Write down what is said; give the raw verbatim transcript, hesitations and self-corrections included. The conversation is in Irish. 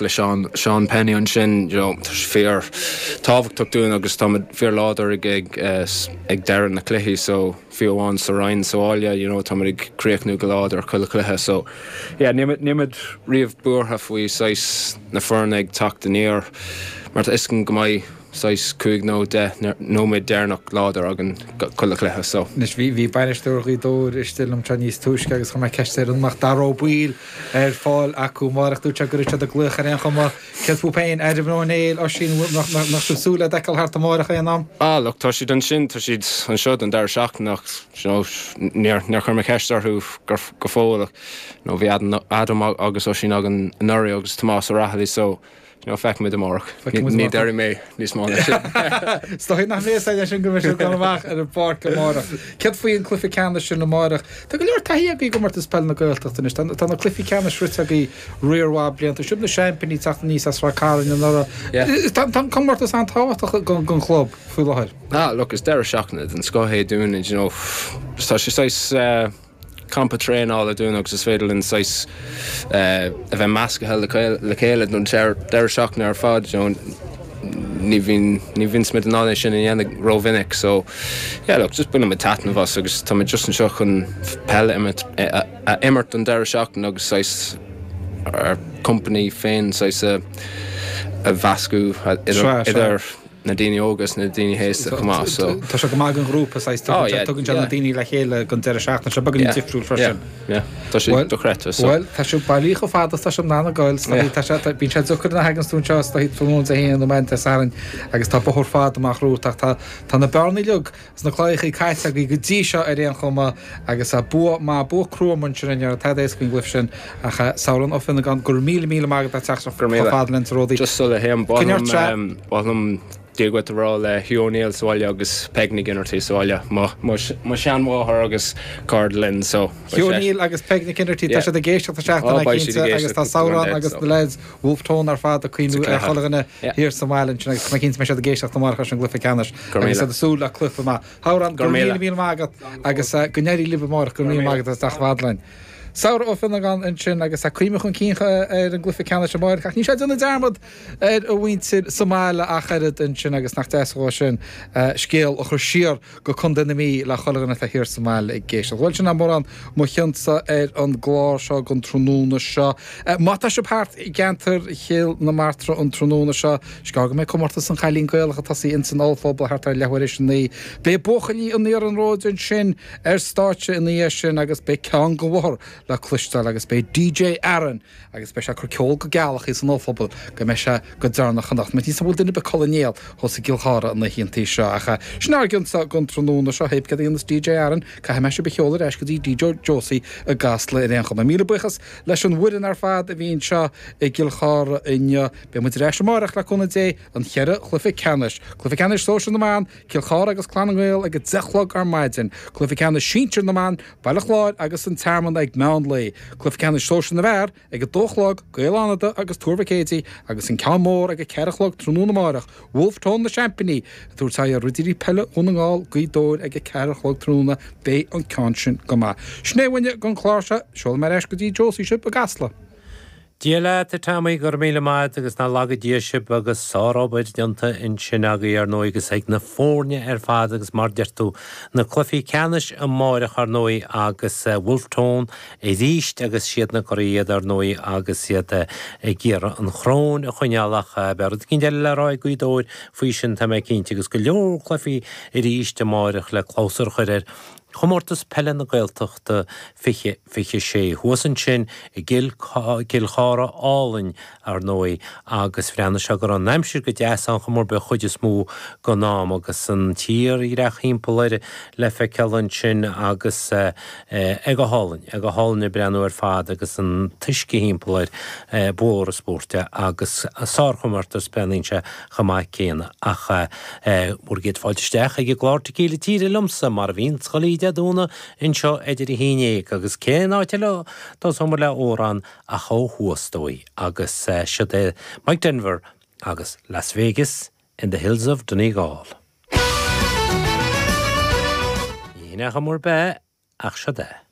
le Seán Seán Penny ansin you know, tá sé fíor tábhachtach dúinn agus tá fíor láidir ag ag ag deireadh na cluichí so fiú amháin sa Rinn sa bhaile you know, tá ag críochnú go láidir chuile cluiche so yeah, nílimid riamh buartha faoi saghas na foirne ag teacht aniar mar tá is go mbeidh saghas cúig nó deich nóiméad deireanach láidir againn chuile chluiche so. Anois bhí bhí bainisteoir Ghaoth Dobhair istigh liom tráth níos túisce agus chuir mé ceist air an mbeadh Dara Ó Baoill ar fáil acu amárach dúirt sé go raibh siad ag glaoch ar aon chuma céard fúibh féin Adam Ó Néill Oisín nach nach sibh súil le d'fheiceáil thart amárach aon am? Ah look tá siad ansin tá siad anseo don deireadh seachtaine ach you know, níor níor chuir mé ceist orthu go go fóill nó bhí Adam Adam agus Oisín againn anuraidh agus Tomás Ó Raghallaigh so you know, feicfimid amárach. Ní déarfaidh mé níos mó ná sin. Is dóigh nach mbeidh sé sin go mbeidh siad dul amach ar an bpáirc amárach. Céard faoi an cluiche ceannais sin amárach? Tá go leor taithí agaibh i gcomórtas peile na Gaeltachta anois. Tá tá na cluichí ceannais sroichte agaibh riar mhaith blianta. Sibh na seaimpíní teacht aníos as Ráth Cairn anuraidh. Tá tá an comórtas an-tábhachtach don don chlub faoi láthair. Ah, look, is deireadh seachtaine den scoth é dúinn, you know, tá sé saghas uh, campa traenála dúinn agus is féidir linn saghas uh, a bheith measctha le le chéile don deireadh seachtaine ar fad you know, ní bhíonn ní bhíonn muid in ann é sin a dhéanamh rómhinic so yeah, look, just baineann muid taitneamh as agus tá muid just anseo chun peil a, a imirt don deireadh seachtaine agus saghas ár company féin saghas a, a mheascadh idir, idir na daoine óga agus na daoine aosta chomh maith so. Tá sé go maith don ghrúpa saghas tugann sé na daoine le chéile don deireadh seachtaine seo beagáinín difriúil freisin. Tá sé dochreidte so. Well tá sé bailí chomh fada tá sé ná gáil tá sé bíonn sé deacair na hagan stún seo tá tráthnóna Dé hAoine nó maidin Dé Sathairn agus tá bóthar fada amach romhat ach tá tá na bearnaí uilig sna claíochaí caite agaibh go dtí seo ar aon chuma agus a bua maith bua crua ansin inniu tá éasca faoin gcluiche sin ach Sabhrán Ó Fionnagáin go raibh míle míle maith agat as teacht chomh fada linn sa Ródaí. Just sula théim ba mhaith liom Dia duit a rá le Hugh O'Neill sa bhaile agus Peg Nic Innerty sa bhaile mo sheanmháthair agus cairde linn so. Hugh O'Neill agus Peg Nic Innerty tá siad ag éisteacht seachtain cinnte agus tá Sabhrán agus na lads Wolf Tone ar fad ag cuimhniú ar chuile dhuine thiar sa bhaile ansin agus tá cinnte mbeidh siad ag éisteacht amárach leis an gcluiche ceannais agus iad ag súil le cluiche maith. Sabhrán go raibh míle míle maith agat agus go n-éirí libh amárach go raibh míle maith agat as teacht chomh fada linn. Sabhrán Ó Fionnagáin ansin agus a cuimhne chun cinn ar an gcluiche ceannais amárach ach ní sé déanamh dearmad ar a mhuintir sa mbaile ach oiread ansin agus nach deas dhó sin scéal a chur siar go Contae na Mí le chuile dhuine atá thiar sa mbaile ag éisteacht. Bhuel sin mórán mo chionsa ar an gclár seo don tráthnóna seo. Má tá sibh thart i gceantar Chill na Martra an tráthnóna seo, is gearr go mbeidh comórtas an Chailín Gaelach ag tosaí ins an ollphuball thart ar leathuair tar éis a naoi. Beidh buachaillí an iarnróid ansin ar stáitse ina dhiaidh sin agus beidh ceann den bhóthar le cloisteáil agus beidh DJ Aaron agus beidh sé ag cur ceol go gealach san ollphuball go mbeidh sé go deireanach anocht. Má níos bhfuil duine ag codladh néal thuas i gCill Chartha na hoícheantaí seo ach sin ár gcionsa don tráthnóna seo pé cad a dhéanas DJ Aaron caithfidh mé sibh a sheoladh ar ais go dtí DJ Josie i gCasla ar aon chuma. Míle buíochas leis an bhfoireann ar fad a bhí anseo i gCill Chartha inniu. Beidh muid ar ais amárach le cúnamh Dé an cheithre chluiche ceannais. Cluiche ceannais sóisir na mban, Cill Chartha agus Clann na nGael ag a deich a chlog ar maidin. Cluiche ceannais sinsir na mban, Baile Chláir agus an Tearmann ag meán lae. Cluiche ceannais sóisir na bhfear ag a dó a chlog, Gaeil Fhánada agus Tuar Mhic Éadaigh agus an ceann mór ag a ceathair a chlog tráthnóna amárach, Wolfe Tone na seaimpíní ag tabhairt aghaidh ar Ridirí Peile Dhún na nGall, Gaoth Dobhair ag a ceathair a chlog tráthnóna. Beidh an ceann sin go maith. Sin é uainne don chlár seo, seolfaidh mé ar ais go dtí Josie sibh i gCasla. Dia leat a Tommy go raibh míle maith agat agus ná laga Dia sibh agus sárobair déanta ansin agaibh ar ndóigh agus ag na foirne ar fad agus mar deir tú na cluichí ceannais amárach ar ndóigh agus Wolfe Tone arís agus siad na curaidh iad ar ndóigh agus iad ag iarraidh an choróin a choinneáil ach beidh rud éicint eile le rá ag Gaoth Dobhair faoi sin tá mé cinnte agus go leor cluichí arís amárach le clabhsúr a chur ar Chomórtas Peile na Gaeltachta fiche fiche sé thuas ansin i gCill Cill Chartha álainn ar ndóigh agus bhreathnaigh sé go raibh an aimsir go deas ann chomh mór b'é chuid is mó den am agus an tírdhreach thimpeall air le feiceáil ansin agus é go hálainn, é go hálainn ag breathnú ar fad agus an t-uisce thimpeall air mhór an spórt é agus sárchomórtas breathnaíonn sé chomh maith céanna ach bhur gcéad fáilte isteach ag an gclár Tequila Tíre liomsa mar a bhíonn chuile Dé Domhnaigh anseo idir a haon déag agus cén áit eile tosóimid le amhrán ach ó thuas dóibh agus siod é Mike Denver agus Las Vegas in the Hills of Donegal. Ní nach mór be ach siod é.